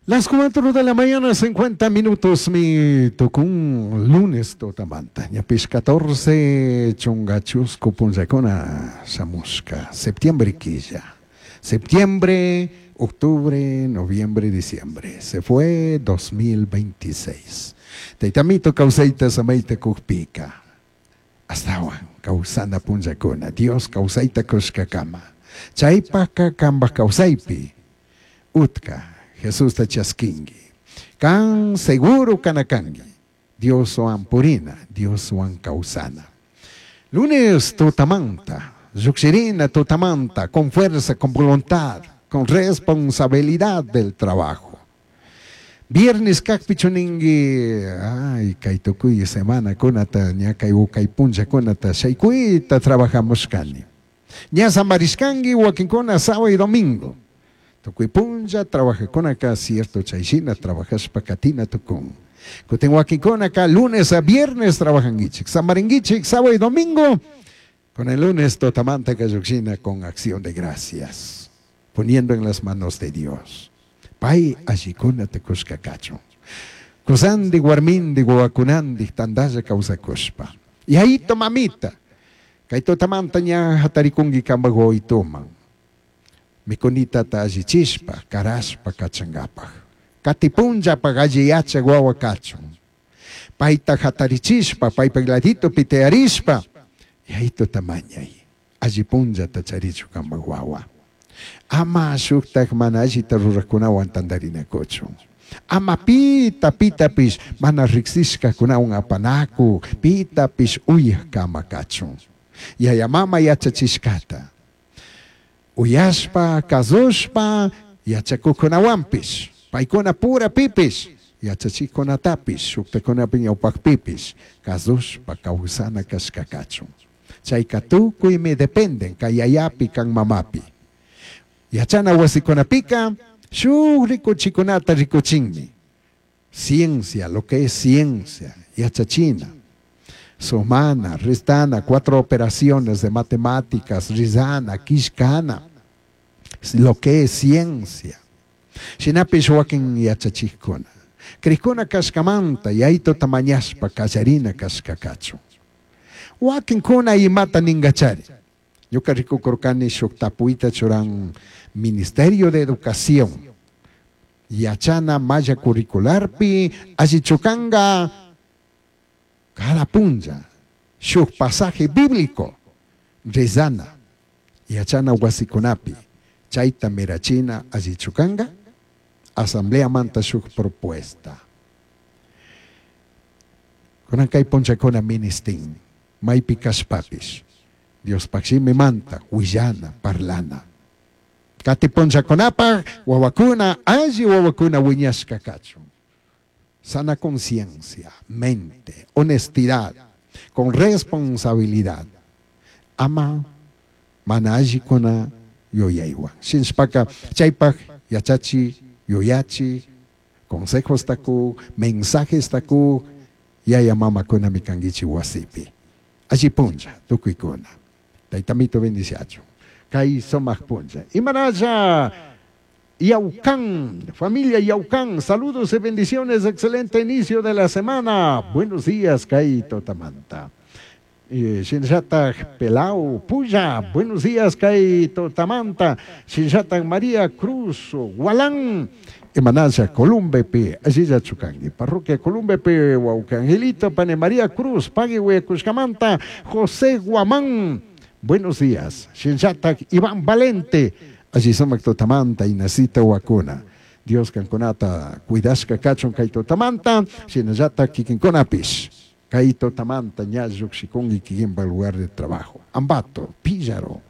Las 4 de la mañana, 50 minutos, mi tucun lunes tutamanta. Ñapish 14 chunga chuscu punllakuna shamushka. Septiembre quilla. Septiembre, octubre, noviembre, diciembre. Se fue 2026. Taitamito kawsayta samayta kukpika. Astawan kawsana punllakuna. Dios kawsayta kushkakama. Chaypaka kambaj kawsaypi. Utka Jesusta chaskinki. Kan seguro kanakanki. Dioswan purina, Dioswan kawsana. Lunes tutamanta, llukshirina tutamanta, con fuerza, con voluntad, con responsabilidad del trabajo. Viernes kakpi chuninki, ay, kay tukuy semana kunata, ña kay kay punllakunata, shaykuyta trabajamushkani. Ña samarishkanki wakinkuna sábado y domingo. Tukuy punlla trabajakunaka cierto chayshina trabajashpa katina tukun. Kutin wakinkunaka lunes a viernes trabajankichik. Samarinkichik sábado y domingo. Con el lunes tutamanta kallukshina con acción de gracias. Poniendo en las manos de Dios. Pay allikunata kushka kachun. Kusandi warmindi wawakunandi tandalla kawsakushpa. Yayito mamita. Kay tutamanta ña hatarikunki kambaj wawituman. Mikunitata allichishpa, karashpa kachankapak. Kati punllapaj alli yachak wawa kachun. Payta hatarichishpa, paypak laditopi tiyarishpa. Yayituta mañay. Alli punllata charichu kambaj wawa. Ama shuktak mana allita rurakunawan tantarinakuchun. Ama pita pitapish mana riksishkakunawan apanaku, pitapish uyak kama kachun. Yaya mama yachachishkata. Uyashpa, kazushpa, yachakukunawanpish. Paykuna pura pipish, yachachikunatapish, shuktakunapi ñawpakpipish, kazushpa kawsana kashka kachun. Chayka tukuymi dependen kay yayapi kan mamapi. Yachana wasikunapika, shuk rikuchikunata rikuchinmi. Ciencia, lo que es ciencia, yachachina. Sumana, restana, 4 operaciones de matemáticas, rizana, kishkana, lo que es ciencia. Shinapish wakin yachachikuna. Krikuna kashkamanta, yayto tamañashpa, kallarina kashkakachu. Wakinkuna imata ningachari. Ñuka rikukurkani shuk tapuita churan Ministerio de Educación. Yachana malla curricularpi, allichukanga, cada punlla, shuk pasaje bíblico, rezana, yachana wasikunapi, chayta mirachina allichukanga, asamblea manta shuk propuesta. Kunan kay punllakuna ministin, maypi kashpapish, Dios pakshimi manta, willana, parlana. Kati punllakunapaj, wawakuna, alli wawakuna wiñashka kachun. Sana conciencia, mente, honestidad, con responsabilidad. Ama, mana allikuna yuyaywan. Shinshpaka, chaypaj, yachachi, yuyachi, consejos taku, mensajes taku, yaya mamakuna mikankichi wasipi. Alli punlla, tukuykuna. Taytamito bendiciachu. Kay sumaq punlla. Imanalla, Yaucán, familia Yaucán, saludos y bendiciones, excelente inicio de la semana. Buenos días, Kay Totamanta. Shinllataj Pelau Puya, buenos días, Kay Totamanta. Shinllataj María Cruz Gualán, Imanalla Columbepe, allí Chucangui, parroquia Columbepe, Huauca Angelito, Pane María Cruz, Pague Huecuscamanta, José Guamán, buenos días. Shinllataj Iván Valente, allí sumak Totamanta, Inacita Huacuna. Dios kankunata, cuidashka kachun kay Totamanta, shinallata kikinkunapish. Kay Totamanta, ña llukshikunki kikinpa lugar de trabajo. Ambato, Píllaro,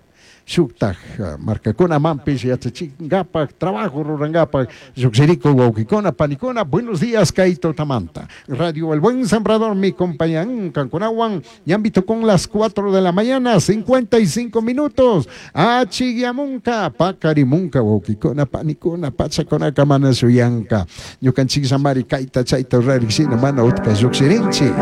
shuktaj markakuna mampish yachachinkapak, trabajo rurankapak, llukshiriko wawkikuna, panikuna, buenos días kay Totamanta. Radio El Buen Sembrador, mi compañía kankunawan, ñambito con las 4 de la mañana, 55 minutos. Achiguiamunca, pacarimunca, wawkikuna, panikuna, pachakuna, kamana shuyanka. Ñukanchik samari kayta chayta rarikshina mana utka llukshirinchik.